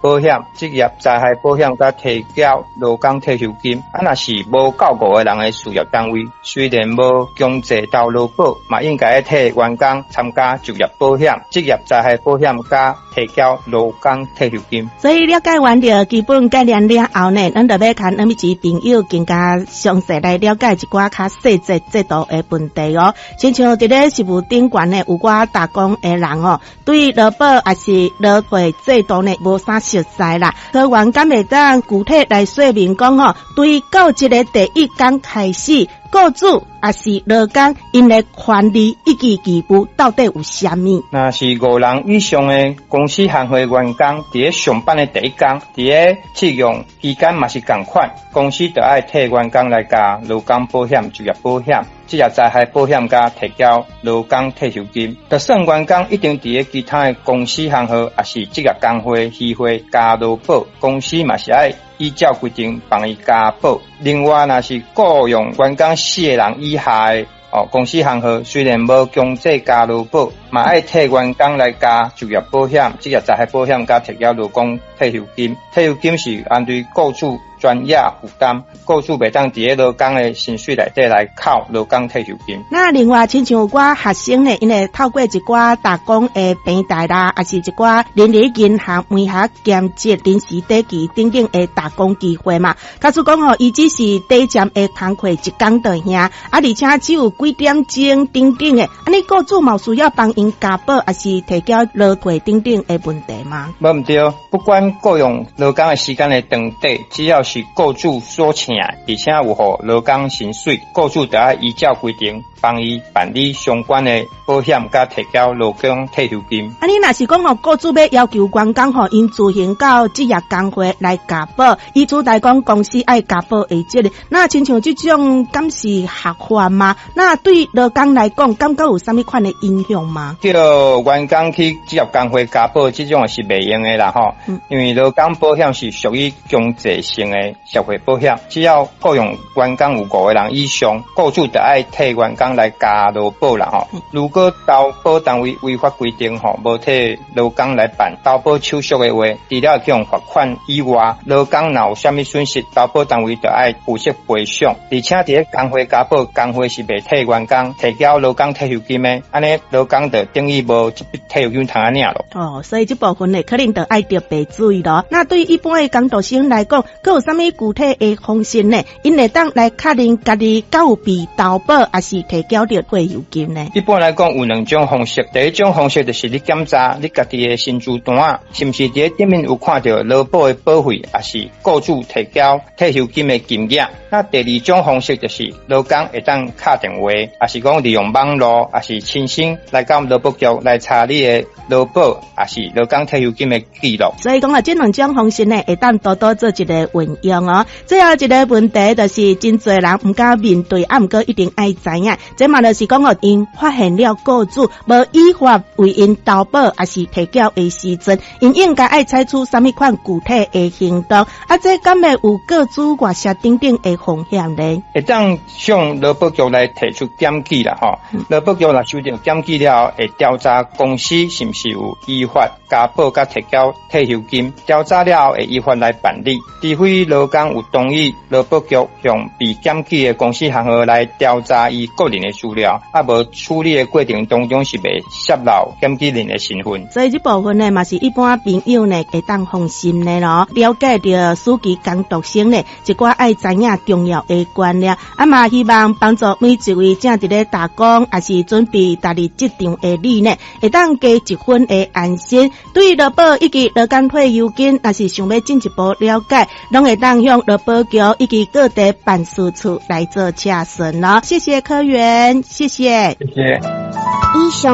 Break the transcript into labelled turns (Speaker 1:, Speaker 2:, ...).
Speaker 1: 保險、職業災害保險佮提繳勞工退休金。啊，若是無夠五個人的事業單位，雖然無強制投勞保，嘛應該替員工參加就業保險、職業災害保險佮提繳勞工退休金。
Speaker 2: 所以了解完著基本概念了後呢，咱就欲共咱每一朋友更加詳細來了解一寡較細節制度的問題哦。親像佇咧食物頂懸呢，有寡打工的人哦，對勞保抑是勞退制度呢，無啥熟似啦。科員敢會當具體來說明講吼，對到這个第一工開始，雇主抑是勞工𪜶的權利以及義務到底有啥物？
Speaker 1: 若是五人以上的公司行號員工，佇咧上班的第一工，佇咧試用期間嘛是仝款，公司就愛替員工來加勞工保險、就業保險、職業災害保險佮提繳勞工退休金。就算員工已經佇咧其他的公司行號，抑是職業工會、協會加勞保，公司嘛是愛依照規定幫伊加保。另外，若是僱傭員工四個人以下的哦，公司行號雖然無強制加勞保，嘛愛替員工來加就業保險、職業災害保險佮提繳勞工退休金。退休金是按對雇主全額負擔，雇主袂當佇咧勞工的薪水內底來扣勞工退休金。
Speaker 2: 那另外，親像有寡學生呢，𪜶會透過一寡打工的平台啦，抑是一寡人力銀行門下兼職臨時短期等等的打工機會嘛。假使講吼，伊只是短暫的工課一工就爾，啊，而且只有幾點鐘等等的，按呢雇主嘛需要幫𪜶加保，抑是提繳勞退等等的問題嗎？
Speaker 1: 無毋對，不管僱傭勞工的時間的長短，只要是雇主所請，而且有予勞工薪水，雇主就愛依照規定幫伊辦理相關的保險，佮提繳勞工退休金。
Speaker 2: 按呢若是講吼，雇主欲要求員工吼，𪜶自行到職業工會來加保，以取代講公司愛加保的責任，那親像這種敢是合法嗎？那對勞工來講，感覺有啥物款的影響嗎？
Speaker 1: 叫員工去職業工會加保，這種是袂用的啦吼。因為勞工保險是屬於強制性的社會保險，只要僱傭員工有五個人以上，雇主就愛替員工來加勞保啦吼。如果投保單位違法規定吼，無替勞工來辦投保手續的話，除了予罰款以外，勞工若有啥物損失，投保單位就愛負責賠償。而且佇咧工會加保，工會是袂替員工提繳勞工退休金的，按呢勞工就等於無這筆退休金通仔領囉。
Speaker 2: 哦，所以這部分呢，可能就愛特別注意囉。那對一般的工讀生來講，閣有啥物具體的方式呢？𪜶會當來確認家己敢有被投保，抑是提繳著退休金呢？
Speaker 1: 一般來講有兩種方式，第一種方式就是你檢查你家己的薪資單，是毋是佇咧頂面有看著勞保的保費，抑是雇主提繳退休金的金額。那第二種方式就是勞工會當敲電話，抑是講利用網路，抑是親身來到勞保局來查你的勞保，抑是勞工退休金的記錄。
Speaker 2: 所以講啊，這兩種方式呢，會當多多做一个運用哦。最後一个問題就是真濟人毋敢面對，啊，毋過一定愛知影。這嘛就是講哦，𪜶發現了雇主無依法為𪜶投保，抑是提繳的時陣，𪜶應該愛採取啥物款具體的行動？啊，這敢會有個資外洩等等的風險呢？
Speaker 1: 會當向勞保局來提出檢舉啦，吼。勞保局若收著檢舉了後，會調查公司是毋是有依法加保佮提繳退休金。調查了後，會依法來辦理。除非勞工有同意勞保局向被檢舉的公司行號來調查伊個人的資料，啊無處理的過程當中是袂洩露檢舉人的身份。
Speaker 2: 所以這部分呢，嘛是一般朋友呢會當放心的囉。了解著暑期工讀生呢，一寡愛知影重要的觀念，啊嘛希望幫助每一位正佇咧打工，抑是準備踏入職場的你呢，會當加一分的安心。對勞保以及勞工退休金，若是想欲進一步了解，攏會當向勞保局以及各地辦事處來做查詢囉。謝謝科員，謝謝。
Speaker 1: 謝謝。
Speaker 3: 以上。